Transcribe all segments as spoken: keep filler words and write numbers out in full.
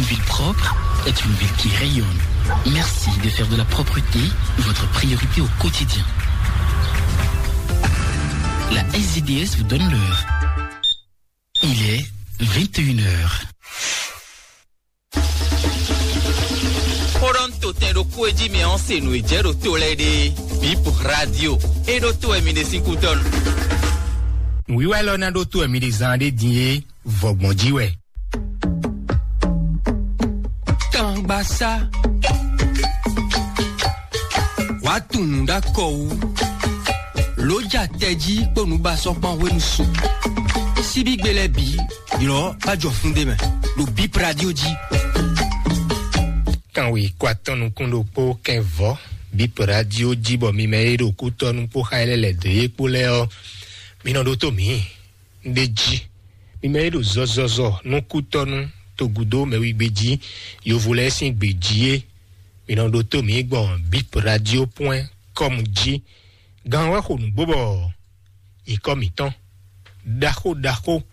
Ville propre est une ville qui rayonne. Merci de faire de la propreté votre priorité au quotidien. La S D D S vous donne l'heure. Il est vingt et une heures. Xó ɖɔ un to tɛn ɖokpó e jí mɛ ɔ́ se nǔ e jɛ ɖo to lɛ́ɛ ɖe. Bip Radio. E ɖo to wɛ mi ɖe sín kútɔ́nu. Nǔwiwa élɔ́ ná ɖó to wɛ mi ɖe zán ɖé din é, vɔgbɔn jí wɛ. Tangbasá. Wàá tunwun ɖó akɔ wú. Lǒ ja tɛjí kpó nǔbasɔ́kpán hwenu su. Síbígbe lɛ́ɛ bǐ, ylɔ̌ bá jɔ fún ɖé mɛ, ɖo Bip Radio jí. Kanwe kó atɔ́ nukún ɖokpó kɛnvɔ́, Bip Radio jí, bɔ mi mɛ e ɖo kútɔ́nú kpó xá e lɛ́ lɛ̌ dó é kpó lɛ́ɛ ɔ́, mi nɔ ɖótó mǐ. Ɖ'é jí. Mi mɛ e ɖo zɔzɔzɔ nú kútɔ́nú togúdó mɛwígbe jí, yovo lɛ́ɛ sín gbě jí é, mi nɔ ɖótó mǐ gbɔn bip radio point com jí. Gan wɛ xo nǔgbó bɔ nyǐkɔ mǐtɔn ɖaxó ɖaxó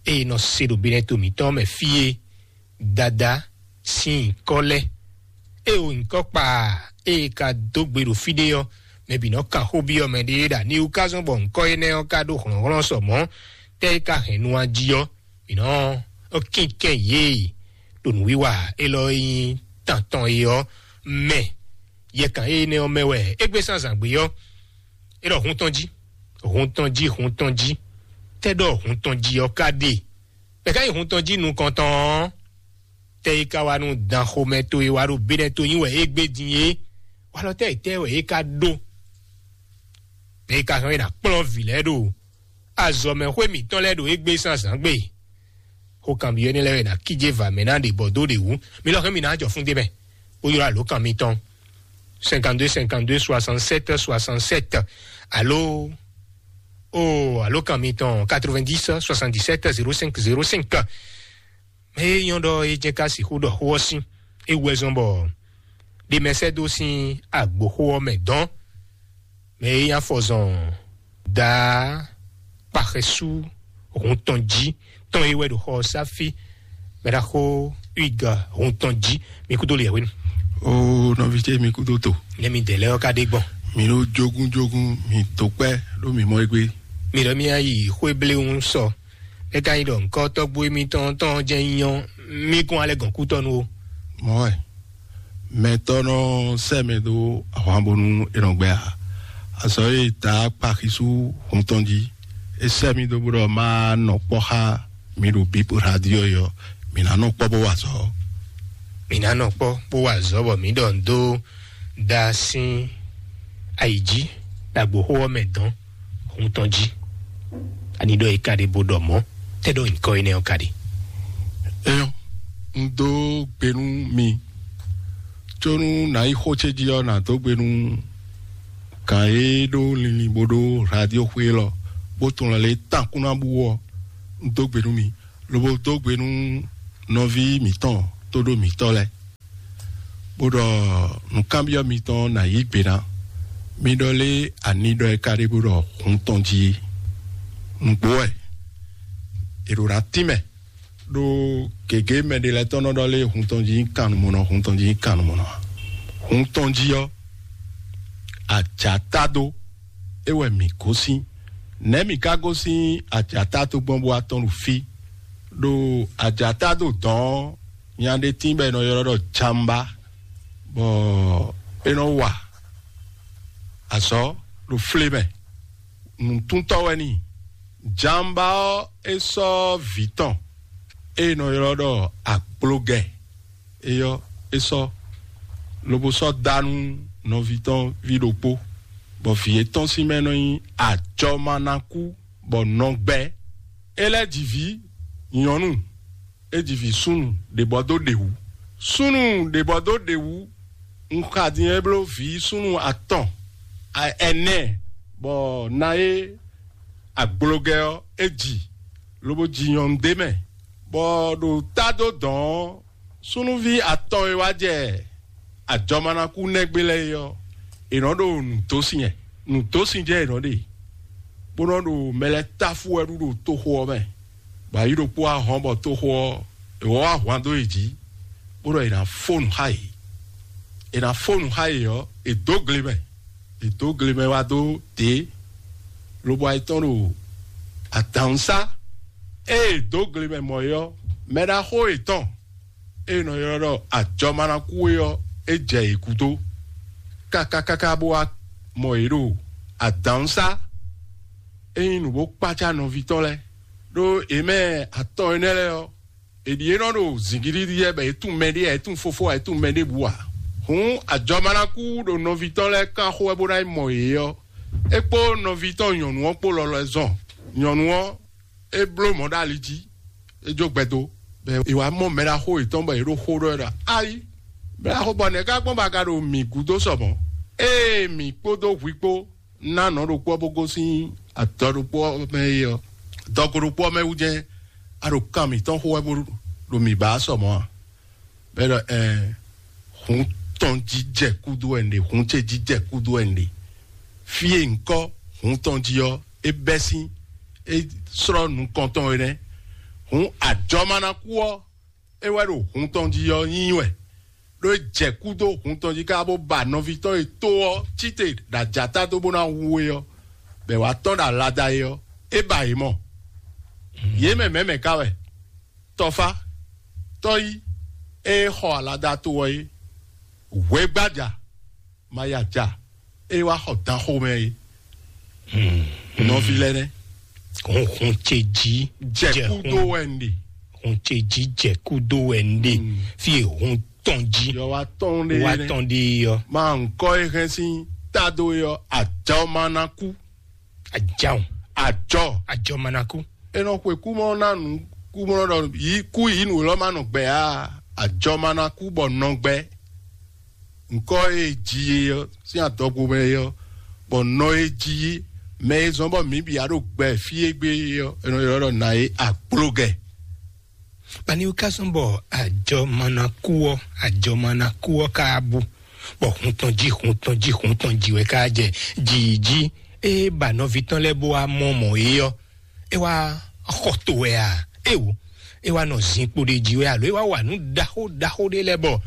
e è nɔ se ɖo binɛto mǐtɔn mɛ fí é, Dadá sín nyǐkɔ lɛ́ɛ. Ée o nyǐkɔ kpaa, ée ka dó gbe ɖo fí ɖé ɔ́, mɛ bǐ nɔ kan xó byɔ́ mɛ ɖé ɖo aniwú ka zɔ́n bɔ nyǐkɔ énɛ́ ɔ́ ka ɖó hlɔ̌nhlɔ́n sɔ mɔ̌. Tɛ́ é ka hɛn nu a jí ɔ́, mǐ nɔ ɔ́ kínkɛ́n yě ɖo nǔwiwa élɔ́ e nyí tantɔn é ɔ́ mɛ. Yɛkan énɛ́ ɔ́ mɛ wɛ é gbé sín azǎn gbé ɔ́, é ɖɔ hun tɔn jí, hun tɔn jí, hun tɔn jí. Tɛ́ ɖɔ hun tɔn jí ɔ́ ka ɖe? Mɛ ka nyí hun tɔn jí nukɔntɔn ɔ́? Tɛ́ é ka wá nú dan xomɛ towe wá ɖo béɖɛ́ to nyi wɛ é gbé din é? Walɔ tɛ́ é tɛ́ wɛ é ka ɖó? Mɛ é ka hɛn é ná kplɔ́n vǐ lɛ́ɛ ɖo azɔ̌mɛxwé mǐtɔn lɛ́ɛ ɖo égbé sín azǎn gbe. Xó kanbyɔ́ énɛ́ lɛ́ɛ wɛ è nǎ kíjé vǎ mɛ ná ɖě bɔ dó ɖě wú. Mi lɔ hɛn mi ná jɔ fún d'é mɛ, bó ylɔ́ alǒkan mitɔn cinquante-deux cinquante-deux soixante-sept soixante-sept, alo o alǒkan mitɔn quatre-vingt-dix soixante-dix-sept zéro cinq zéro cinq. Mɛ e nyɔ́ ɖɔ é jɛ ká sixú ɖɔ xó ɔ́ sín, é wú wɛ zɔ́n bɔ ɖe mɛ sɛ́ dó sín agboxó ɔ́ mɛ dɔn. Mɛ e nyí afɔzɔn daa kpaxɛsú hun tɔn jí tɔn e wɛ ɖo xɔ ɔ́ sá fí. Mɛ ɖaxó Huig hun tɔn jí, mi kúdó liɛ̌ hwenu. O nɔví ce, mi kúdó to. Nɛ mi dɛ lɛ́ ɔ́ ka ɖe gbɔn. Mi ɖó jógúnjógún, mi dó kpɛ́ ɖó mi mɔ égbé. Mi ɖɔ mi yi xwé bléwún sɔ. É ka nyí ɖɔ ŋkɔ́ tɔ́gbó émítɔn tɔn jɛ́n nyí ɔ́, mí kún alɛ gɔn kútɔ́ nú ó. Mɔ̌ wɛ, mɛtɔ́ nɔ sɛ́ mɛ dó ahwan bónú é nɔ gbɛ ǎ. Azɔ̌ e ta kpa xisú hun tɔn jí, é sɛ́ mì dó bó ɖɔ má nɔ kpɔ́ xá mi ɖo Bíp Radio é ɔ́, mǐ ná nɔ kpɔ́ bó wa azɔ̌. Mǐ ná nɔ kpɔ́ bó wa azɔ̌ bɔ mǐ ɖɔ nǔ dó da sín ayi jí ɖo agboxó ɔ́ mɛ dɔn hun tɔn jí. Ani ɖɔ é ka ɖe bó ɖɔ mɔ̌, tɛ́ ɖɔ nyǐkɔ énɛ́ ɔ́ ka ɖe? Éyɔ́, un dó gbe nú mi, có nú nǎ yi xó ce jí ɔ́, nǎ dó gbe nú gǎn e ɖó linlin bó ɖó radio xwé élɔ́, bó tunwun lɛ lě tán kún ná bú ɔ́, un dó gbe nú mi, lobo dó gbe nú nɔví mǐtɔn tóɖó mǐtɔn lɛ́ɛ, bó ɖɔ nǔkanbyɔ́ mitɔn ná yí gbe ná. Mi ɖɔ lé ani ɖɔ é ka ɖe bó ɖɔ hun tɔn jí é? Nǔgbó wɛ, è ɖǒ ná tínmɛ, ɖó gěgé mɛ ɖé lɛ́ɛ tɔn nɔ ɖɔ lé hun tɔn jí nyí kannumɔnɔ, hun tɔn jí nyí kannumɔnɔ ǎ. Hun tɔn jí ɔ́, ajǎta dó, é wɛ mǐ gosín. Nɛ̌ mǐ ka gosín ajǎta dó gbɔn bó wá tɔ́n ɖo fí? Ɖo ajǎta dó dɔ̌n ɔ́, nya ɖé tíin bɔ è nɔ ylɔ́ ɖɔ jamba, bɔ é nɔ wa azɔ̌ ɖo flé mɛ. Nǔtúntɔ́ wɛ n'i. Jamba ɔ́, é sɔ́ vǐ tɔn e è nɔ ylɔ́ ɖɔ agbloga, é ɔ́, é sɔ́, lobo sɔ́ dá nú nɔví tɔn ví ɖokpó, bɔ vǐ étɔn sín mɛ nɔ nyí ajɔmanakú, bɔ nɔgbɛ. É lɛ́ ji vǐ nyɔ̌nu, é ji vǐ súnnu ɖě bɔ dó ɖě wú. Súnnu ɖě bɔ dó ɖě wú, un xa din é bló vǐ súnnu atɔn, a- ɛnɛ, bɔ na é agbloga ɔ́, é ji, lobo ji nyɔ̌nu d'é mɛ, bɔ ɖo tá dó dɔ̌n ɔ́, súnnuví atɔn e wá jɛ ajɔmanakú nɛgbé lɛ́ɛ é ɔ́, è nɔ ɖo nǔdósin ɛ, nǔdósin jɛ è nɔ ɖe, bó nɔ ɖo mɛ lɛ́ɛ táfú wɛ ɖu ɖo toxo ɔ́ mɛ, bɔ ayǐ ɖokpó wá hɔn bɔ toxo ɔ́, è wɔ wá hwan dó yě jí. bó ɖɔ è nǎ fó nǔ xá yě. È nǎ fó nǔ xá yě ɔ́, è dǒ gle mɛ. È dǒ gle mɛ wá dó dě, lobo ayetɔ́ ɖo adǎnsá. Ée è dǒ gle mɛ mɔ é ɔ́, mɛɖaxó yětɔn e è nɔ ylɔ́ ɖɔ ajɔmanakú é ɔ́, é jɛ yě gúdo káká káká bó wá mɔ yě ɖo adǎnsá. É nyí nǔ bó kpácá nɔví tɔn lɛ́ɛ, ɖó yě mɛ atɔn énɛ́ lɛ́ɛ ɔ́, è ɖi yě nɔ ɖo zǐngídi lɛ́ɛ bɔ yě tunwun mɛɖé ǎ, yě tunwun fofó ǎ, yě tunwun mɛɖěbǔ ǎ. Hǔn ajɔmanakú ɖo nɔví tɔn lɛ́ɛ kán xo wɛ bó ná yi mɔ yě ɔ́, é kpó nɔví tɔn nyɔ̌nu ɔ́ kpó lɔlɔ́ ɛ zɔn. Nyɔ̌nu ɔ́, é bló mɔ̌ ɖo ali jí, é jó gbɛdo, bɔ è wǎ mɔ mɛɖaxó yětɔn bɔ yě ɖo xó ɖɔ wɛ ɖɔ: "Ayi, mɛɖaxó, bɔ nɛ̌ ká gbɔn bɔ a ka ɖo mǐ gúdo sɔ mɔ̌? Ée mǐ kpódó hwi kpó ná nɔ ɖokpó ɔ́ bó gosín adɔ ɖokpó ɔ́ mɛ é ɔ́, dɔgo ɖokpó ɔ́ mɛ wú jɛ́n a ɖo kan mǐtɔn xo wɛ bó ɖo mǐ ba sɔ mɔ̌ a?" Bɔ é ɖɔ: "Ɛɛ, hun tɔn jí jɛ kúdú wɛ un ɖe, hun ce jí jɛ kúdú wɛ un ɖe. Fí e un kɔ hun tɔn jí ɔ́, é bɛ́ sín, é slɔ́ nukɔn tɔn é nɛ́. Hun ajɔmanakú ɔ́, é wɛ ɖo hun tɔn jí ɔ́ nyí wɛ, ɖó é jɛ kú dó hun tɔn jí ká bó ba nɔví tɔn e tó ɔ́ cíte ɖo ajata dó bó ná hu é ɔ́, bɔ è wǎ tɔ́n ɖo alada é ɔ́, é ba yě mɔ. Yě mɛ mɛ̌ mɛ ka wɛ? Tɔfá, tɔ́yí, ée xɔ alada to ɔ́ é, hwɛgbája, ma ya ja, ée wá xɔ dan xomɛ é. Nɔví lɛ́ɛ nɛ́. Hunhun ce jí Jɛ kú dó wɛ un ɖe. Hun ce jí jɛ kú dó wɛ un ɖe. Fí e hun tɔn jí Yɔ wá tɔn ɖe wá nɛ́. Tɔn ɖe ɔ́. Ma ŋkɔ e hɛn sín tado e ɔ́, ajɔ ma ná kú. Ajɔ. Ajɔ. Ajɔ ma ná kú. E nɔ xwe kú mɔ ná nú kú mɔ ɖɔ yí kú yí nǔ lɔ ma nɔ gbɛ á. Ajɔ ma ná kú bɔ nɔ gbɛ. Ŋkɔ e ji e ɔ́ sín adɔgo mɛ e ɔ́, bɔ nɔ e ji mɛ e zɔn bɔ mǐ bǐ a ɖo gbɛ fí e gbe e ɔ́, è nɔ ylɔ́ ɖɔ nǎ e agbloga. Bani wú ká sɔn bɔ ajɔ ma ná kú ɔ́, ajɔ ma ná kú ɔ́ ká bú, bɔ hun tɔn jí, hun tɔn jí, hun tɔn jí wɛ ká jɛ jǐ jí. Ée ba nɔví tɔn lɛ́ɛ bó wá mɔ mɔ̌ é ɔ́, é wá xɔ to wɛ a? Éwo, é wá nɔ zinkpo ɖé jí wɛ alo é wá wa nǔ ɖaxó ɖaxó ɖé lɛ́ɛ bɔ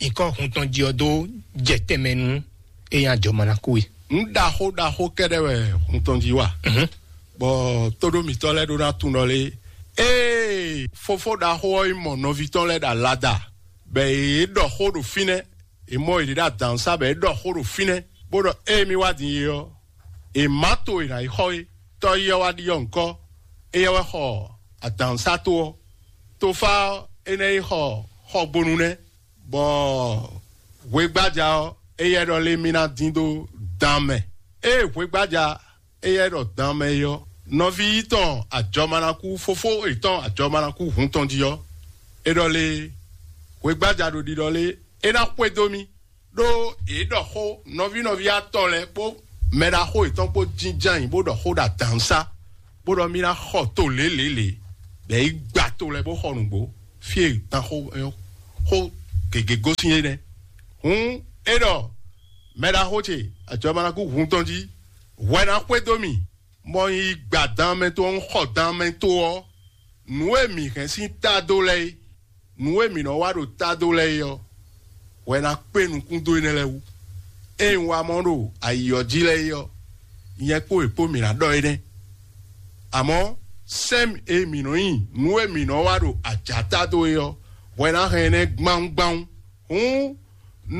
nyǐkɔ hun tɔn jí ɔ́ dó jɛ tɛnmɛ nú é nyí ajɔ ma ná kú é. Nǔ ɖaxó ɖaxó kɛ́ɖɛ́ wɛ hun tɔn jí wa. Bɔ tóɖó mǐtɔn lɛ́ɛ ɖó ná tunwun ɖɔ lé, ée fofó ɖaxó ɔ́ yi mɔ nɔví tɔn lɛ́ɛ ɖo alada, bɔ yě ɖɔ xó ɖo fínɛ́, è mɔ yě ɖo adǎnsá bɔ é ɖɔ xó ɖo fínɛ́, bó ɖɔ: "Ée mì wá din é ɔ́, è má to è nǎ yi xɔ é." Tɔ́ yi ɔ́ wá ɖiɖɔ ŋkɔ́, éyɛ́ wɛ xɔ adǎnsá to ɔ́. Tofá ɔ́, é nɛ́ yi xɔ xɔgbonu nɛ́, bɔ hwegbája ɔ́, éyɛ́ ɖɔ lé mì ná dín dó dan mɛ. Ée hwegbája éyɛ́ ɖɔ dan mɛ é ɔ́, nɔví yítɔn ajɔmanakú, fofó yětɔn ajɔmanakú hun tɔn jí ɔ́, é ɖɔ lé hwegbája ɖo ɖiɖɔ lé é ná xwedó mì, ɖó yě ɖɔ xó nɔví nɔví atɔn lɛ́ɛ kpó mɛ ɖaxó yětɔn kpó jínjɔ́n ayǐ bó ɖɔ xó ɖo adǎnsá, bó ɖɔ mì ná xɔ to lělělě, bɔ é gba to lɛ́ɛ bó xɔ nǔgbó, fí e tan xó xó gěgé gosín é nɛ́. Hǔn é ɖɔ mɛ ɖaxó ce ajɔmanakú hun tɔn jí, hwɛ ná xwedó mì, bɔ un yi gba dan mɛ to ɔ́, un xɔ dan mɛ to ɔ́, nǔ e mǐ hɛn sín ta dó lɛ́ɛ é, nǔ e mǐ nɔ wa ɖo ta dó lɛ́ɛ é ɔ́, hwɛ ná kpé nukún dó énɛ́ lɛ́ɛ wú. Ée un wa mɔ ɖo ayǐ ɔ́ jí lɛ́ɛ é ɔ́, nyɛ kpó è kpó mǐ ná ɖɔ énɛ́. Amɔ̌, sɛ́n e mǐ nɔ nyi nǔ e mǐ nɔ wa ɖo ajǎta dó é ɔ́, hwɛ ná hɛn énɛ́ gbáwúgbáwú. Hǔn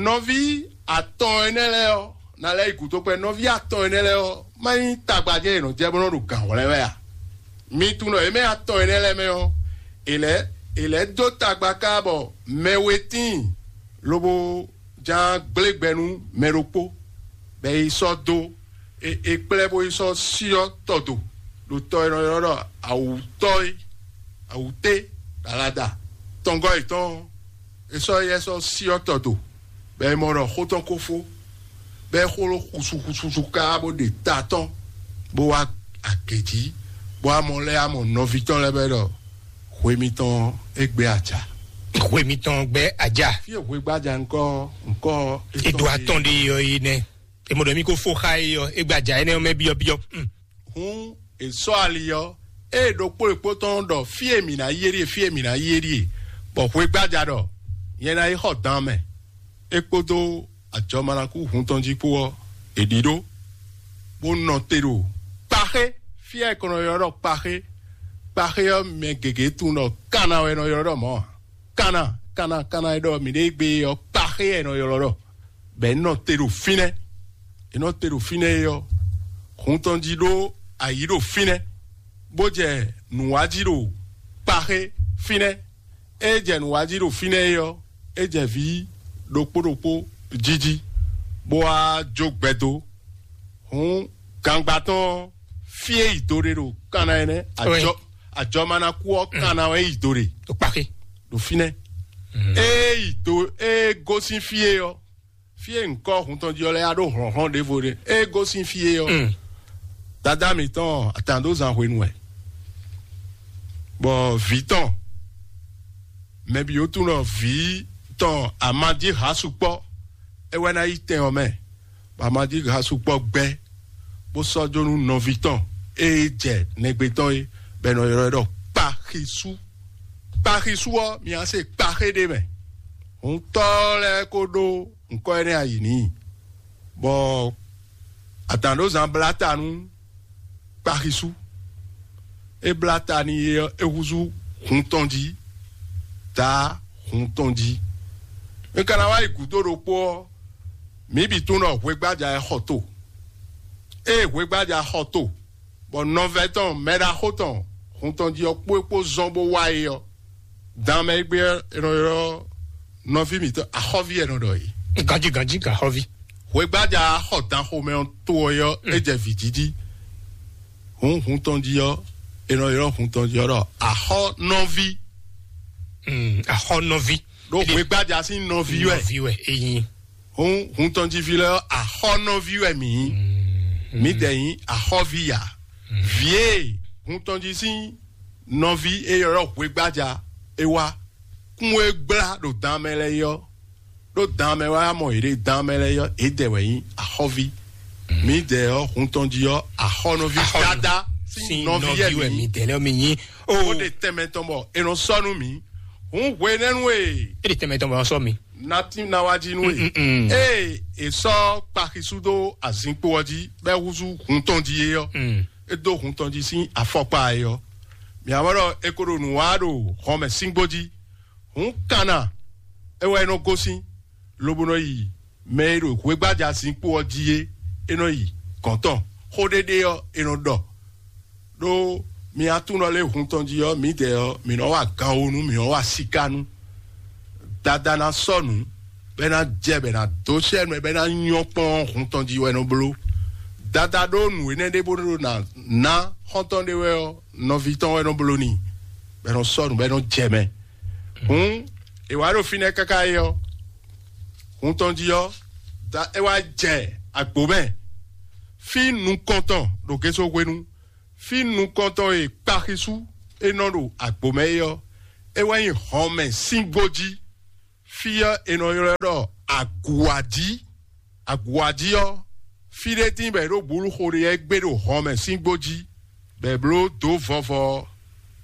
nɔví atɔn énɛ́ lɛ́ɛ ɔ́, ná lɛ́ yi gǔdo kpɛ́ nɔví atɔn énɛ́ lɛ́ɛ ɔ́, má nyí tagbajɛ e nɔ jɛ bó nɔ ɖo gǎn hwlɛ́n wɛ a? Mi tunwun ɖɔ yě mɛ atɔn énɛ́ lɛ́ɛ mɛ ɔ́, è lɛ́ è lɛ́ dó tagba ká bɔ mɛ we tíin, lobo ján gblé gbɛ nú mɛ ɖokpó, bɔ é yi sɔ́ dó è è kplɛ́ bó yi sɔ́ syɔ́ tɔ do ɖo tɔ e nɔ ylɔ́ ɖɔ awǔtɔ́ é, awǔté, ɖo alada tɔngɔ́ yětɔn ɔ́, è sɔ́ éyɛ́ sɔ́ syɔ́ tɔ do, bɔ è mɔ ɖɔ xó tɔn ko fó, bɔ é xó ɖó xusuxusu ká bó ɖe ta tɔn, bó wá agě jí, bó wá mɔ lɛ́ amɔ nɔví tɔn lɛ́ɛ bɔ é ɖɔ hwe mitɔn é gbé aja. Hwe mitɔn gbɛ aja. Fí e hwe gbája ŋkɔ ŋkɔ Edo atɔn ɖe yɔ yi nɛ. Emo ɖɔ mi ko fo xa yi yɔ, egbaja énɛ́ mɛ byɔ́ byɔ́. Hǔn è sɔ́ ali ɔ́, ée ɖokpó ɖokpó tɔn ɖɔ fí e mǐ ná yi é ɖíe, fí e mǐ ná yi é ɖíe, bɔ hwegbája ɖɔ nyɛ ná yi xɔ dan mɛ. É kpódó ajɔmanakú hun tɔn jí kpó ɔ́, è ɖi ɖó, bó nɔ te ɖo kpaxé. Fí e è kɔn nɔ ylɔ́ ɖɔ kpaxé, kpaxé ɔ́, mɛ gěgé tunwun ɖɔ kana wɛ è nɔ ylɔ́ ɖɔ mɔ̌ ǎ. Kana, kana, kana e ɖɔ mǐ ɖe gbe ɔ́, kpaxé wɛ è nɔ ylɔ́ ɖɔ. Bɔ è nɔ te ɖo fínɛ́, è nɔ te ɖo fínɛ́ é ɔ́, hun tɔn jí ɖó ayǐ ɖo fínɛ́, bó jɛ nǔ wa jí ɖo kpaxé fínɛ́. É jɛ nǔ wa jí ɖo fínɛ́ é ɔ́, é jɛ vǐ ɖokpó ɖokpó jí jí, bó wá jó gbɛ dó. Hǔn, gangba tɔn ɔ́, fí e yi do ɖe ɖo kanna ɛnɛ́, ajɔ ajɔmanakú ɔ́ kanna wɛ yi do ɖe ɖo kpaxé ɖo fínɛ́. Ée yi do, ée gosín fí e ɔ́, fí e nyǐkɔ hun tɔn jí ɔ́ lɛ́ɛ ɖó hlɔ̌nhlɔ́n ɖěvo ɖé. Ée gosín fí e ɔ́, dadá mǐtɔn atǎndozan hwenu wɛ, bɔ vǐ tɔn, mɛ bǐ ó tunwun ɖɔ vǐ tɔn amadíha sukpɔ́ é wɛ ná yi tɛn ɔ́ mɛ, bɔ amadíha sukpɔ́ gbɛ́, bó sɔ́ jó nú nɔví tɔn e jɛ nɛgbé tɔn é, bɔ è nɔ ylɔ́ ɛ ɖɔ kpaxisú. Kpaxisú ɔ́, mi wá se kpaxé ɖé mɛ. Hǔntɔ́ lɛ́ɛ ko ɖó nǔkɔ énɛ́ ayǐ n'i, bɔ adǎnɖózán blá ta nú kpaxisú. É blá ta n'i é ɔ́, é húzú hun tɔn jí, dǎ hun tɔn jí. Mi ka ná wá yi gǔdo ɖokpó ɔ́, mǐ bǐ tunwun ɖɔ hwegbája ɛ xɔ to. Ée hwegbája xɔ to, bɔ nɔvɛ́ tɔn mɛɖaxó tɔn hun tɔn jí ɔ́ kpó é kpó zɔ́n bó wá é ɔ́, dan mɛ e gbé ɔ́, è nɔ ylɔ́ nɔví mǐtɔn axɔ́ví wɛ è nɔ ɖɔ é. Ganjí ganjí gan xɔ́ví. Hwegbája xɔ dan xomɛ ɔ́ to ɔ́, é jɛ vǐ jí jí. Hǔn hun tɔn jí ɔ́, è nɔ ylɔ́ hun tɔn jí ɔ́ ɖɔ axɔ́nɔví. Axɔ́nɔví. Ɖó hwegbája sín nɔví wɛ. Nɔví wɛ eyin. Hǔn hun tɔn jí ví lɛ́ɛ ɔ́, axɔ́nɔví wɛ mǐ nyí. Mǐdɛɛ nyí axɔ́ví ya. Vǐ e hun tɔn jí sín nɔví e ylɔ́ hwegbája é wá, kún e gblá ɖo dan mɛ lɛ́ɛ é ɔ́, ɖó dan mɛ wá mɔ yě ɖe dan mɛ lɛ́ɛ é ɔ́, yědɛɛ wɛ nyí axɔ́ví. Mǐdɛɛ ɔ́, hun tɔn jí ɔ́, axɔ́nɔví Axɔ́nɔ- dáadáa sín sín nɔví nɔví wɛ wɛ mǐ. Mǐdɛɛ lɛ́ɛ mǐ nyí. Ó Ó ɖe tɛnmɛ tɔn bɔ è nɔ sɔ́ nú mǐ. Hǔn hwenɛ́nu e É ɖe tɛnmɛ tɔn bɔ sɔ́ mi. Natin ná wá jí nú e. Mm, mm, mm. Ée è sɔ́ kpaxisú dó azinkpo ɔ́ jí, bɔ é húzú hun tɔn jí é ɔ́, Mm. é dó hun tɔn jí sín afɔkpa é ɔ́. Mǐ wá mɔ ɖɔ è ko ɖo nǔ wa ɖo hɔnmɛ síngbó jí. Hǔn kanna é wɛ é nɔ gosín, lobo nɔ yi mɛ e ɖo hwegbája zinkpo ɔ́ jí é, é nɔ yi gɔ̌n tɔn. Xó ɖéɖé ɔ́, è nɔ ɖɔ. Ɖó mi atúnɔ lɛ́ɛ hun tɔn jí ɔ́, mǐdɛɛ ɔ́, mǐ nɔ wa ganwonu, mǐ nɔ wa sikánu. Dada ná sɔ́ nǔ, bɔ é ná jɛ, bɔ é ná dó sɛ́ nú ɛ, bɔ é ná nyɔ́ kpɔ́n ɔ́, hun tɔn jí wɛ é nɔ bló. Dada ɖó nǔ énɛ́ ɖé bó ɖó ná ná xɔ́ntɔn ɖé wɛ ɔ́, nɔví tɔn wɛ é nɔ bló n'i, bɔ é nɔ sɔ́ nǔ, bɔ é nɔ jɛ mɛ. Hǔn è wǎ ɖo fínɛ́ káká é ɔ́, hun tɔn jí ɔ́, da é wá jɛ agbo mɛ. Fí nukɔntɔn ɖo Geso hwenu, fí nukɔntɔn e kpaxisú é nɔ ɖo agbo mɛ é ɔ́, é wɛ nyí hɔnmɛ sín gbó jí. Fí ɔ́, è nɔ ylɔ́ ɛ ɖɔ Aguwájí. Aguwájí ɔ́, fí ɖé tíin bɔ è ɖo bǔlu xo ɖé ɔ́ gbé ɖo hɔnmɛ sín gbó jí, bɔ è bló dǒ vɔvɔ ɔ́.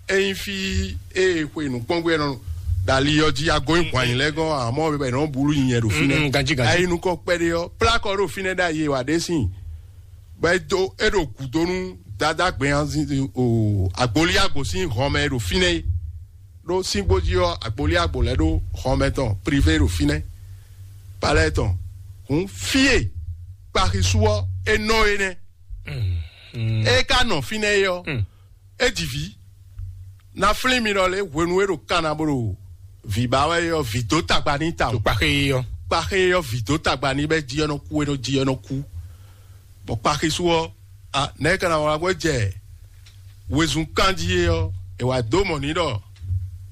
Ényí fí e xwe nǔkpɔ́ngbé ɔ́ nɔ ɖo ali ɔ́ jí, a gɔn nyi hwan nyi lɛ́ɛ gɔ́n, amɔ̌ bɔ è nɔ búlu nyinyɛ ɖo fínɛ́. Mm, mm, ganjí, ganjí. A yi nukɔn kpɛɖé ɔ́, plákɔ ɖo fínɛ́ ɖ'ayǐ e wǎ ɖe sín, bɔ é dó é ɖo gǔdo nú Dadá gbɛnyanzin o, agboli agbo sín hɔnmɛ e ɖo fínɛ́ é. Ɖó síngbó jí ɔ́, agboli agbo lɛ́ɛ ɖó hɔnmɛ tɔn privé ɖo fínɛ́, palɛ́ɛ tɔn. Hǔn fí e kpaxisú ɔ́ é nɔ é nɛ́. Mm, mm. É ka nɔ fínɛ́ é ɔ́, Mm. é ji vǐ. Na flín mi ɖɔ lě hwenu e ɖo kanna bó ɖo vǐ ba wɛ é ɔ́, vǐ dó tagba n'i tawun. Ɖo kpaxé é ɔ́. Kpaxé é ɔ́, vǐ dó tagba n'i, bɔ é jí ɔ́ nɔ kú, é nɔ jí ɔ́ nɔ kú. Bɔ kpaxisú ɔ́, a nɛ̌ ka ná wlá bó jɛ wezun kanjí é ɔ́, è wǎ dó mɔ n'i ɖɔ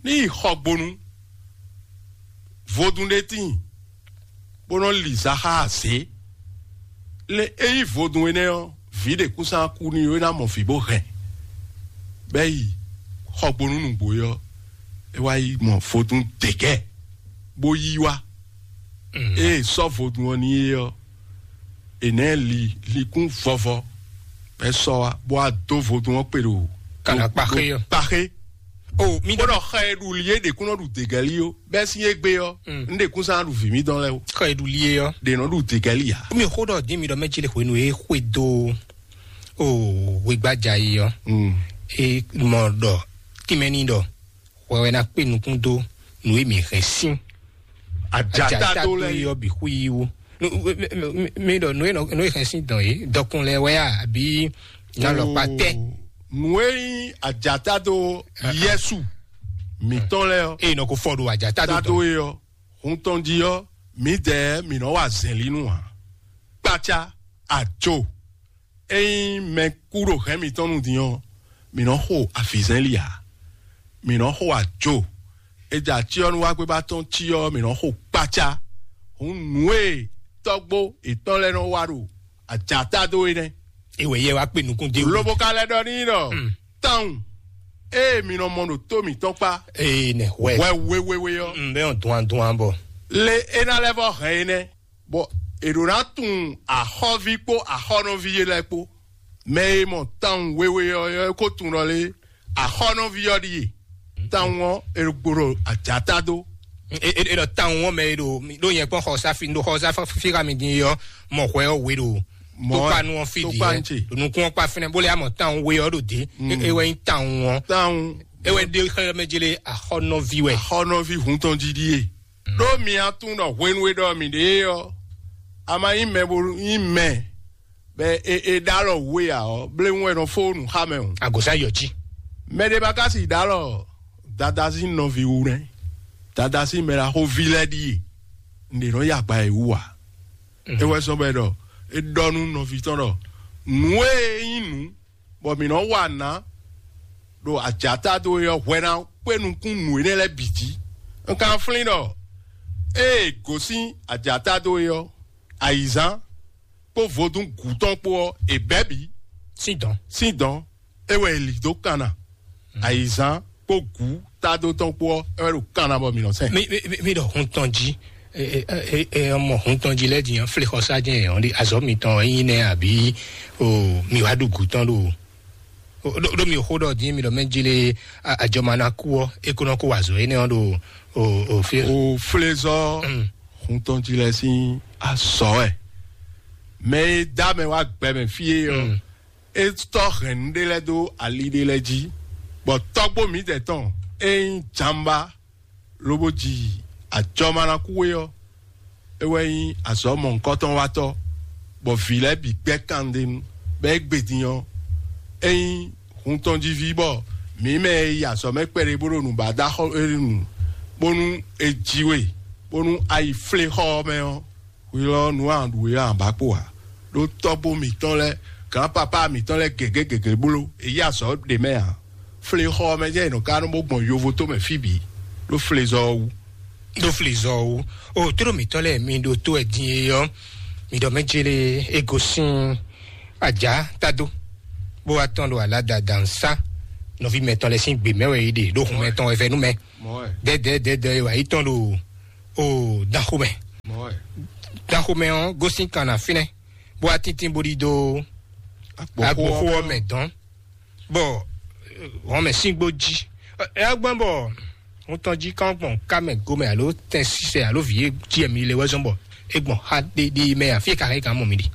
ní yi xɔgbonu vodún ɖé tíin, bó nɔ́ li zaxá azě. Lé é nyí vodún énɛ́ ɔ́, vǐ ɖě kún sán kú n'i ó, é ná mɔ vǐ bó hɛn. Bɛ́ yi xɔgbonu nǔgbó é ɔ́, é wá yi mɔ vodún děgɛ́, bó yí wá. Ée è sɔ́ vodún ɔ́ n'i é ɔ́, è nɛ̌ li likún vɔvɔ, bɔ é sɔ́ wá, bó wá dó vodún ɔ́ kpe ɖo Kana kpaxé ɔ́. Kpaxé. O mi bó ɖɔ ɖɔ xɛ e ɖu li é ɖě kún nɔ ɖu degɛli ó, bɛ́ sín égbé ɔ́, Mm. un ɖě kún sán ɖu vǐ mítɔn lɛ́ɛ ó. Xɔ e ɖu li é ɔ́. Ɖě nɔ ɖu degɛli ǎ. Mi xó ɖɔ dín mi ɖɔ mɛ jí le hwenu e xwe dó o wegbaja yi ɔ́. Mm. E mɔ ɖɔ tínmɛ ní ɖɔ hwɛ wɛ ná kpé nukún dó nǔ e mi hɛn sín Ajata dó lɛ yi. Yɔ bixu yi wú. Mi ɖɔ nú e hɛn sín dɔn yìí dɔkun lɛ wɛ a àbí nalɔkpa tɛ? Nú e nyí ajata dó yɛsu mítɔn lɛ ɔ́, eye nɔ ko fɔ ɖo ajata dó tado dɔn. E ɔ́, hun tɔn jí ɔ́, mǐdɛɛ mǐ nɔ wa zɛ̌nlínu ǎ. Kpácá, ajo, ényí mɛ kú ɖo hɛ̌n mǐtɔn nu din ɔ́, mǐ nɔ xo avǐzɛ́nli ǎ. Mǐ nɔ xo ajo. È jɛ acyɔ́núwágbéba tɔn cí ɔ́, mǐ nɔ xo kpácá. Hǔn nǔ e tɔ́gbó yětɔn lɛ́ɛ nɔ wa ɖo ajǎta dó é nɛ́. Ewɛ yɛ wá kpe nukún dé wú. Lobo ka lɛ́ ɖɔ n'i ɖɔ, Mm. Tawun ée mi nɔ mɔ ɖo tó mǐtɔn kpá Ee nɛ hwɛ. Hwɛ wéwéwé ɔ́, Mm, bɛ ɔn duan duan bɔ. Le é ná lɛ́ vɔ hɛn é nɛ́, bɔ è ɖǒ ná tunwun axɔ́ví kpó axɔ́nɔví é lɛ́ɛ kpó. Mɛ e mɔ tawun wéwé ɔ́ é ko tunwun ɖɔ lé, axɔ́nɔví ɔ́ ɖíe. Tawun ɔ́, è gbo ɖo ajǎta dó. E e e ɖɔ tawun ɔ́ mɛ e ɖo ɖo nyɛ kpɔn xɔsa fi ɖo xɔsa fi xa mi din ɔ́, mɔ hwɛ ɔ́ we ɖo Mɔ tokpanu ɔ́ fi tokpa ɖi ŋtsi. Nukun ɔ́ kpa fínɛ bó lɛ amɔ tawun we ɔ́ ɖo dé. Mm. E wɛ nyi tawun ɔ́. Tawun. E wɛ ɖe xɛ mɛ jele axɔnɔvi wɛ. Axɔnɔvi hun tɔn didi ye. Ɖó mi atún ɖɔ hwenu e ɖɔ mi ɖe ɔ́, a ma nyí mɛ bo nyí mɛ bɛ e e ɖó alɔ wú e ǎ ɔ́, bléwún wɛ nɔ fó nǔ xa mɛ o. Agɔ̌sá yɔ jí. Mɛ ɖé ba ka si ɖó alɔ dada sín nɔví wú nɛ́. Dada sín mɛ ɖaxó ví lɛ́ɛ ɖíe. Un ɖě nɔ yi agba e wú ǎ. É wɛ sɔ́ bɔ é ɖɔ é ɖɔ nú nɔví tɔn ɖɔ nǔ e nyí nǔ bɔ mǐ nɔ wa nǎ ɖo ajǎta dó é ɔ́ hwɛ ná kpé nukún nǔ énɛ́ lɛ́ɛ bǐ jí. Un ka flín ɖɔ ée gosín ajǎta dó é ɔ́, ayǐzán kpó vodún gǔ tɔn kpó ɔ́, è bɛ̌ bǐ Sín dɔn. Sín dɔn, é wɛ è lǐ dó kanna. Ayǐzán kpó gǔ tádó tɔn kpó ɔ́, é wɛ ɖo kanna bɔ mǐ nɔ sɛn. Mi mi mi- mi ɖɔ hun tɔn jí. Ɛ ɛ ɛ ɛ, mɔ hun tɔn jí lɛ din flexɔ sa jɛn yɔn ɖi azɔ mitɔn ɛ yin nɛ abi o mi wa ɖu gu tɔn ɖo o ɖo ɖo mi xo ɖɔ din mi ɖɔ mɛ jí le a- adzɔmanaku ɔ e ko nɔ ko wa azɔ énɛ́ ɔ ɖo o o fi. O flezɔ Mm. Hun tɔn jí lɛ sín azɔ ɛ. Mɛ e dá mɛ wá gbɛ mɛ fí é ɔ. Mm. É tɔ́ hɛn nǔ ɖé lɛ́ɛ dó ali ɖé lɛ́ɛ jí, bɔ tɔ́gbó mǐdɛɛ tɔn e nyí Jamba lobo ji ajɔmanakuwe ɔ́, é wɛ nyí azɔ̌ mɔ̌hunkɔtɔn watɔ́, bɔ vǐ lɛ́ɛ bǐ gbɛ́ kandenu, bɔ é gbe din ɔ́, é nyí hun tɔn jí ví, bɔ mǐ mɛ e yi azɔ̌ mɛ kpɛɖé bó ɖo nǔ ba dó axɔ́ é nu, bónú è ji we, bónú a yi flé xɔ ɔ́ mɛ ɔ́, hwi lɔ nǔ a ɖu e a ba kpo ǎ. Ɖó tɔ́gbó mǐtɔn lɛ́ɛ, gǎnpapá mǐtɔn lɛ́ɛ gěgé gěgé bló, è yí azɔ̌ ɖě mɛ ǎ. Flexɔ ɔ́ mɛ jẹ́ è nɔ ka nɔ bó gbɔn yovo tó mɛ fí bǐ, ɖó flezɔ ɔ́ wú. Ɖó flezɔ ɔ́ wú. O tló mǐtɔn lɛ́ɛ mi ɖo tó wɛ din e ɔ́, mi ɖɔ mɛ jele e gosín ajá tado, bó wá tɔn ɖo aládàdà nsá nɔví mɛtɔn lɛ́ɛ sín gbě mɛ wɛ é ɖe ɖó hun mɛtɔn wɛ vɛ́ nú mɛ. Dɛdɛdɛdɛ wà yí tɔn ɖo o danxomɛ. Danxomɛ ɔ́ gosín kan na fínɛ́, bó wá tíntín bó ɖidó agboxó ɔ́ mɛ dɔn, bɔ wɔn mɛ síngbó jí. Ɛ gbɔn bɔ ŋutɔn jí kán gbɔn ká mɛ gomɛ alo tɛn sísɛ alo vǐ e jí ɛmí le wɛ zɔn bɔ é gbɔn xa ɖéɖé mɛ afí e ka hɛn é ka mɔ mi ɖi.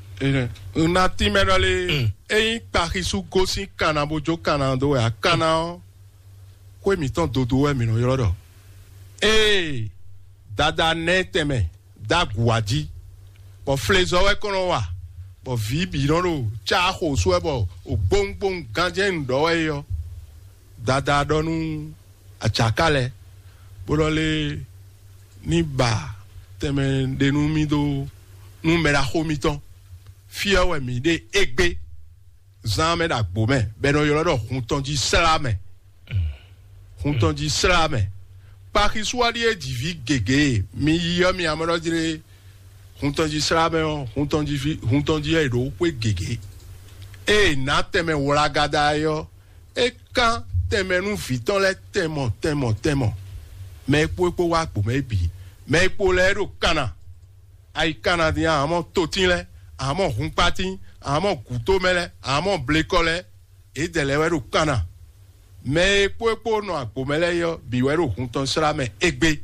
Nati mɛ ɖɔ lé, eyin kpaxisu gosín kanna bó jó kanna dó wɛ a kanna ɔ́, xwé mǐtɔn dodo wɛ mǐ nɔ ylɔ́ ɖɔ. Ee, dada nɛ́ tɛnmɛ dó agu wá jí, bɔ flezɔ wɛ kɔn nɔ wa, bɔ vǐ bǐ nɔ ɖo cá xo sú wɛ, bɔ ògbóŋgbóŋ ganjɛ́n nǔ ɖɔ wɛ é ɔ́, dada ɖɔ nú acaká lɛ́ɛ, bó ɖɔ lé ní ba tɛnmɛ ɖé nú mì dó nú mɛ ɖaxó mitɔn. Fí ɔ́ wɛ mǐ ɖe égbé zán mɛ ɖo agbo mɛ, bɔ è nɔ ylɔ́ ɖɔ hun tɔn jí slá mɛ. Hun tɔn jí slá mɛ. Kpaxisúwáɖí e ji vǐ gěgé e mi yi ɔ́, mi amɔ́ jlé hun tɔn jí slá mɛ ɔ́, hun tɔn jí ví hun tɔn jí wɛ è ɖǒ xwé gěgé. Ée è nǎ tɛnmɛ wlagada é ɔ́, é kán tɛnmɛ nú vǐ tɔn lɛ́ɛ tɛnmɔ tɛnmɔ tɛnmɔ. Mɛ e kpó é kpó wá agbo mɛ é bǐ. Mɛ e kpo lɛ́ɛ ɖo kanna. Ayi kanna din a mɔ totín lɛ́ɛ, a mɔ hunkpatín, a mɔ gǔtomɛ lɛ́ɛ, a mɔ blekɔ lɛ́ɛ, yědɛɛ lɛ́ɛ wɛ ɖo kanna. Mɛ e kpó e kpó nɔ agbo mɛ lɛ́ɛ é ɔ́, bǐ wɛ ɖo hun tɔn slá mɛ égbé.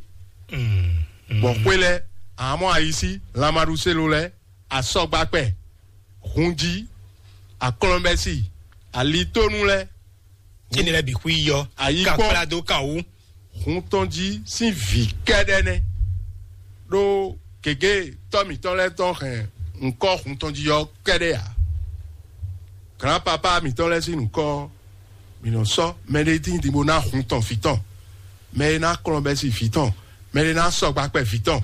Bɔ xwé lɛ́ɛ, amɔ́ ayisí, lanmaɖuselo lɛ́ɛ, asɔgbakpɛ, hunjí, akɔlɔnbɛsi, alitónú lɛ́ɛ, Énɛ́ lɛ́ɛ bǐ xwí yɔ. Ayikpɔ́n. Kan kplá dó kan wú. Hun tɔn jí sín vǐ kɛ́ɖɛ́ nɛ́. Ɖó gěgé tɔ́ mǐtɔn lɛ́ɛ tɔn hɛn ŋkɔ́ hun tɔn jí ɔ́ kɛ́ɖɛ́ ǎ. Glǎnpapá mǐtɔn lɛ́ɛ sín nǔkɔ ɔ́, mǐ nɔ sɔ́ mɛɖé dín din bó ná hun tɔn vǐ tɔn, mɛ e ná kplɔ́n bɛ́ sín vǐ tɔn, mɛ e ná sɔgba kpɛ vǐ tɔn.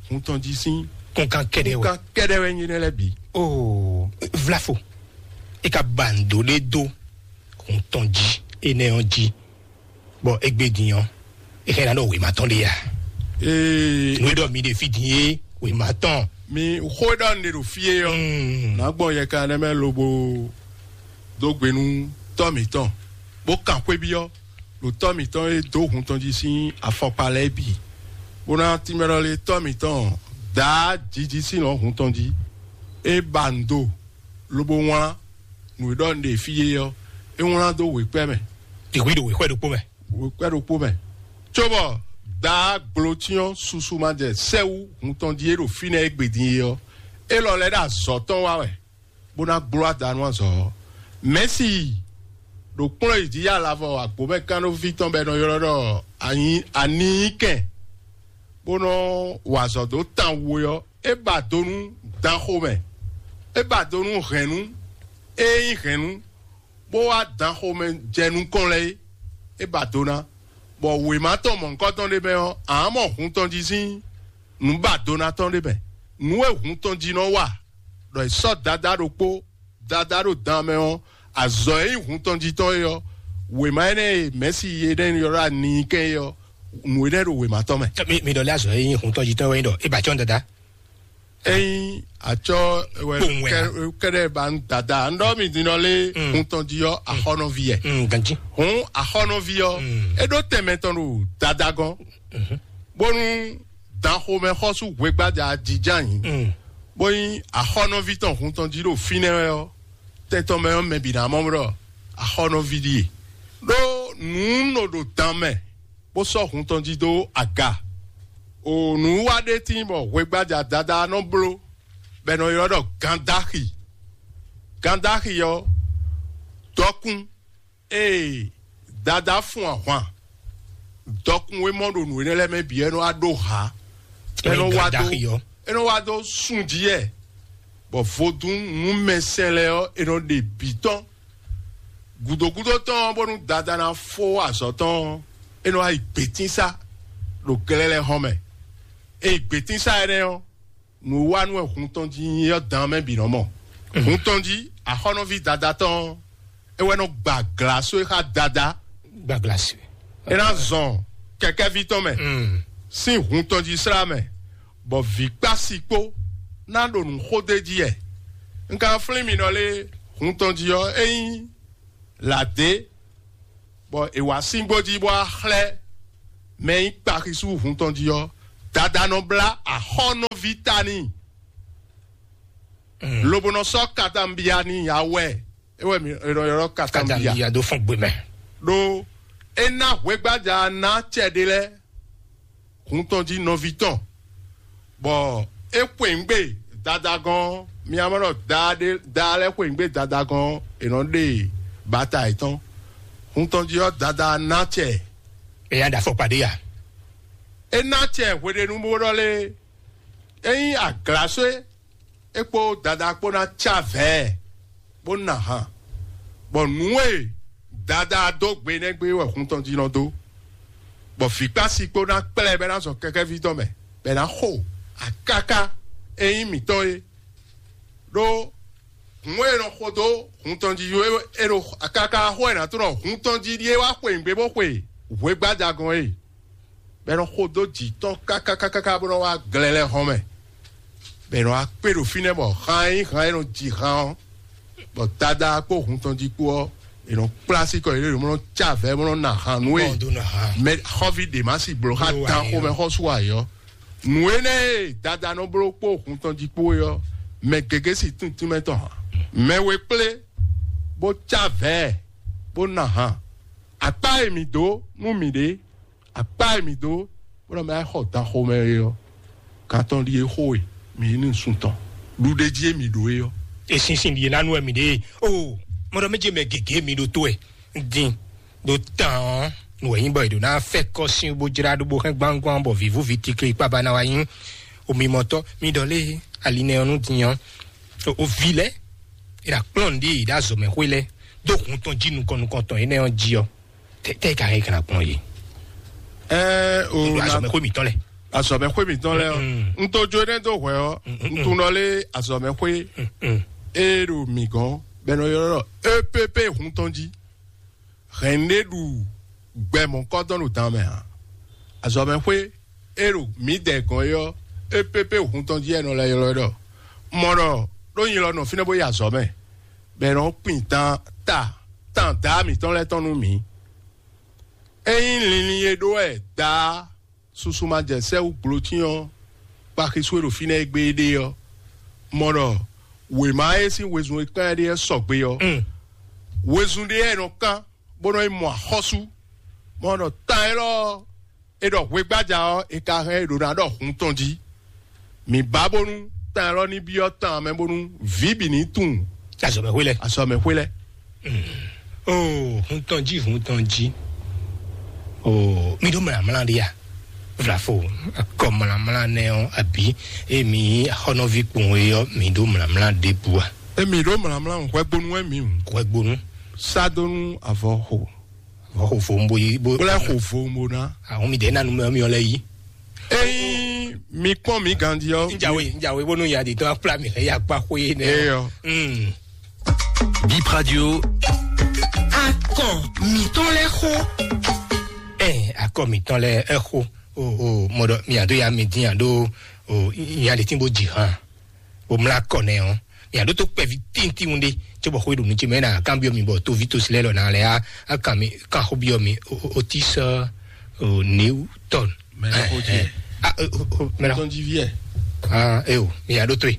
Hun tɔn jí sín Kúnkan kɛ́ɖɛ́ wɛ. Kúnkan kɛ́ɖɛ́ wɛ nyí nɛ́ lɛ́ɛ bǐ. Oo, vlafo. E ka ba ndo ɖé dó hun tɔn jí énɛ́ ɔ́ jí, bɔ égbé din ɔ́, e xɛ ná ɖɔ wěma tɔn ɖé ya. Ee, Nú e ɖɔ mi ɖe fí din é, wěma tɔn. mi xó e ɖɔ un ɖe ɖo fí é ɔ́, nǎ gbɔn yɛkan nɛ́ mɛ lobo dó gbe nú tɔ́ mǐtɔn, bó kan xwé byɔ́ ɖo tɔ́ mǐtɔn e dó hun tɔn jí sín afɔkpa lɛ́ɛ bǐ, bó ná tínmɛ ɖɔ lé tɔ́ mǐtɔn dǎá jiji sín lɔ̌ hun tɔn jí. É ba nǔ do, lobo wlán nǔ e ɖɔ un ɖe fí é ɔ́, é wlán dó wěkpɛ́ mɛ. Ìwé ɖo wěxwɛ ɖokpó mɛ. Wěkpɛ́ ɖokpó mɛ, cóbɔ dǎá gblǒcyɔ́n susu ma jɛ sɛ́ wú hun tɔn jí é ɖo fínɛ́ égbé din é ɔ́, élɔ́ lɛ́ ɖo azɔ̌ tɔn wa wɛ, bó ná gbló ada nú azɔ̌ ɔ́. Mɛ̌si ɖo kplɔ́n yi jí yá lavɔ agbǒmɛkánɖóví tɔn bɔ è nɔ ylɔ́ ɖɔ anyi aninyíkɛn, bó nɔ́ wa azɔ̌ dó tan wu é ɔ́, é ba do nú danxomɛ, é ba do nú hɛ̌nnu, é nyí hɛ̌nnu, bó wá danxomɛ jɛ nukɔn lɛ́ɛ é, é ba do ná, bɔ wěma tɔn mɔ̌hunkɔtɔn ɖé mɛ ɔ́, ǎ mɔ hun tɔn jí sín nǔ ba do ná tɔn ɖé mɛ. Nǔ e hun tɔn jí nɔ wa, ɖɔ è sɔ́ Dadá ɖokpó, Dadá ɖo dan mɛ ɔ́, azɔ̌ e nyí hun tɔn jí tɔn é ɔ́, wěma énɛ́ e Mɛ̌si énɛ́ ylɔ́ ɖɔ aninyíkɛn é ɔ́, nǔ énɛ́ ɖo wěma tɔn mɛ. Mi mi ɖɔ lé azɔ̌ e nyí hun tɔn jí tɔn wɛ nyí ɖɔ é ba cɔ́n dada. Ényí atsɔ wɛ Kpowun wɛ a? Kɛɖɛ ba ń dada, ń ɖɔ mi din nɔ lé hun tɔn jí ɔ́, axɔnɔví yɛ. Mm, ganji. Hun axɔnɔví ɔ́, é ɖó tɛnmɛ tɔn ɖo dada gɔ́n, bónú danxomɛ xɔ́sú hwegbájá jijá yǐ, Mm. bó nyí axɔnɔví tɔn hun tɔn jí ɖo fínɛ́ wɛ ɔ́, tɛn tɔn mɛ ɔ́ mɛ bǐ ná mɔ ɖɔ axɔnɔví ɖíe. Ɖó nǔ nɔ ɖo dan mɛ, bó sɔ́ hun tɔn jí dó aga. O nǔwiwa ɖé tíin bɔ hwegbájá Dadá nɔ bló, bɔ è nɔ ylɔ́ ɖɔ gandáxi. Gandáxi ɔ́, dɔkun, ee, Dadá fun ahwan, dɔkun e mɔ ɖo nǔ énɛ́ lɛ́ɛ mɛ bǐ, é nɔ wá ɖó hǎ, é nɔ wá dó, Gandáxi ɔ́. é nɔ wá dó sun jí yɛ, bɔ vodún nú mɛsɛn lɛ́ɛ ɔ́, é nɔ ɖe bǐ tɔn. Gǔdógúdó tɔn ɔ́, bónú Dadá ná fó azɔ̌ tɔn ɔ́, é nɔ wá yi gbětínsá ɖo glɛ́lɛ́ hɔn mɛ. É yi gbětínsá énɛ́ ɔ́, nǔwanú wɛ hun tɔn jí nyí ɔ́ dan mɛ bǐ nɔ mɔ. Hun tɔn jí axɔ́nɔví Dadá tɔn ɔ́, é wɛ nɔ gba glǎsó e xá Dadá. Gbagblasi. É ná zɔn kɛkɛ́ví tɔn mɛ sín hun tɔn jí slá mɛ, bɔ vǐ kpási kpó ná ɖo nǔ xó d'é jí yɛ. Un ka flín mi nɔ lé hun tɔn jí ɔ́, é nyí lǎdé, bɔ è wǎ síngbó jí bó wá xlɛ́ mɛ e nyí kpaxisú hun tɔn jí ɔ́, Dadá nɔ blá axɔ́nɔví ta n'i, lobo nɔ sɔ́ katanbia n'i awɛ. É wɛ mi è nɔ ylɔ́ katanbia. Katanbia dó fɔn gbé mɛ. Ɖó é ná hwegbaja ná acɛ ɖé lɛ́ɛ hun tɔn jí nɔví tɔn, bɔ é xweyǐgbe Dadá gɔ́n, mi ná mɔ ɖɔ daa ɖé daa lɛ́ɛ xweyǐgbe Dadá gɔ́n, è nɔ ɖe bata yětɔn. Hun tɔn jí ɔ́, Dadá ná acɛ. Ɛ ya ɖa fɔkpa ɖé ya. É ná acɛ hweɖénu bó ɖɔ lé, é nyí aglaswé, é kpó Dadá kpó ná cá vɛ̌, bó ná han, bɔ nǔ e Dadá dó gbe nɛ́ gbé wɛ hun tɔn jí nɔ dó, bɔ vǐkpási kpó ná kplá ɛ bɔ é ná zɔ kɛkɛ́ví tɔn mɛ, bɔ é ná xo akáká e nyí mǐtɔn é. Ɖó hun e è nɔ xo dó hun tɔn jí é ɖo akáká xó e è nǎ tlɔ́ hun tɔn jí ɖíe wá xweyǐgbe bó xwe hwegbájagɔn é, bɔ è nɔ xo dó jǐ tɔn kákákákáká bó nɔ wá glɛlɛ hɔn mɛ, bɔ è nɔ wá kpé ɖo fínɛ́ bɔ han e nyí han e nɔ ji han ɔ́, bɔ Dadá kpó hun tɔn jí kpó ɔ́, è nɔ kplá sí kɔ yě ɖo mɔ nɔ cá vɛ̌ mɔ nɔ ná han nú é. Bɔ dó ná han. Mɛ xɔ́ví ɖě má sí bló xá Bló dan ayé xomɛ ɔ́. Xɔ́sú ayɔ. Nǔ énɛ́ e Dadá nɔ bló kpó hun tɔn jí kpó é ɔ́, mɛ gěgé sí tíntínmɛ tɔn hǎn. Mɛ we kplé bó cá vɛ̌ bó ná han. Akpá e mǐ dó nú mǐɖée, akpá e mǐ dó bó nɔ mɛ xɔ dan xomɛ é ɔ́, gantɔn ɖíe xo e mǐ ní sun tɔn ɖuɖéjí e mǐ ɖó é ɔ́. Esinsin ɖíe ná nú wɛ mǐ ɖe. O, mɔɖɔ méje mɛ gěgé mi ɖo tó wɛ. Din ɖo tán ɔ́, nú wɛ nyí bɔ è ɖo ná fɛ kɔ sín bó jlá ɖó bó hɛn gbangban bɔ vǐvú ví tikli kpaba ná wá nyí. Omimɔtɔ mi ɖɔ lé ali nɛ ɔ́ nú din ɔ́. O vi lɛ, è ɖo akplɔ́n ɖe è ɖo azɔ̌mɛxwé lɛ dó hun tɔn jí nukɔn nukɔn tɔn énɛ́ ɔ́ jí ɔ́. Tɛ tɛ ka hɛn kana kplɔn yi. Ɛɛ o Ɖo na azɔmɛ xó mi tɔn lɛ. Azɔmɛ xó mi tɔn lɛ ɔ. Mm. N to jo ne do hwɛ ɔ. Mm, mm, N to mm. Nɔ lé azɔmɛ xó. Mm, mm. E ɖo mi gɔn bɛ nɔ yɔrɔ ɖɔ E P P hun tɔn jí. Hɛn ne ɖu gbɛ mɔ kɔ dɔn ɖo dan mɛ a. Azɔmɛ xó e ɖo mi dɛ gɔn yi ɔ. E P P hun tɔn jí ɛ nɔ lɛ ylɔ ɖɔ. Mɔ ɖɔ ɖó nyi lɔ nɔ fínɛ́ bó yi azɔmɛ. Bɛ nɔ kpin tan ta tan da mi tɔn lɛ tɔn nú mi. Ényí linlin e ɖó wɛ daa susu ma jɛ sɛ́ wú gblǒtín ɔ́, kpaxisú e ɖo fínɛ́ e gbé é ɖe ɔ́, mɔ ɖɔ wěma e sín wezun e kán ɛ ɖe ɔ́ sɔgbe ɔ́, wezun ɖé wɛ è nɔ kán bó nɔ yi mɔ axɔ́sú. Mɔ ɖɔ tan élɔ́ ɔ́, è ɖɔ hwegbájá ɔ́, è ka hɛn è ɖǒ ná ɖɔ hun tɔn jí. Mǐ ba bónú tán élɔ́ ní byɔ́ tán mɛ bónú vǐ bǐ ní tunwun Azɔmɛxwé lɛ. Azɔmɛxwé lɛ. Oh, hun tɔn jí, hun tɔn jí. Oh, mi ɖó mlǎmlá ɖé ya. Vlafo, akɔ mlǎmlá nɛ ɔ́, abǐ emi xɔnɔví kpɔn e ɔ́, mi ɖó mlǎmlá ɖěbǔ a? Emi ɖó mlǎmlá hwɛgbónú wɛ mi hùn. Hwɛgbónú. Sá dó nú avɔ xo. Vɔ xo fo bo yi bo. Wlɛ xo fo mo ná. Àwọn mi dɛ nanu mɛ mi ɔlɛ yi. Eyi mi kpɔn mi gandi ɔ. Njawe njawe bonu ya di tɔ akpla mi ya kpa xo ye nɛ. Eyɔ. Mm. Bip Radio. Akɔ mitɔn lɛ xo. Ɛ akɔ mitɔn lɛ ɛ xo. O o mɔdɔ mi ado ya mi din ado o ya de tin bo ji hàn. Bo mlá kɔ nɛ ɔ́, ya ɖó tó kpɛví tíntín ɖé, cóbɔ xwé ɖo nú ce mɛ na kanbyɔ mi bɔ toví tosi lɛ lɔ na lɛ á kan mi kan xó byɔ mi. O ti sɔ o néwu tɔn. Mɛ na xó jɛ. Mɛ na xó. Tɔn jí viɛ. Ah, eo, mi ya ɖó tó e.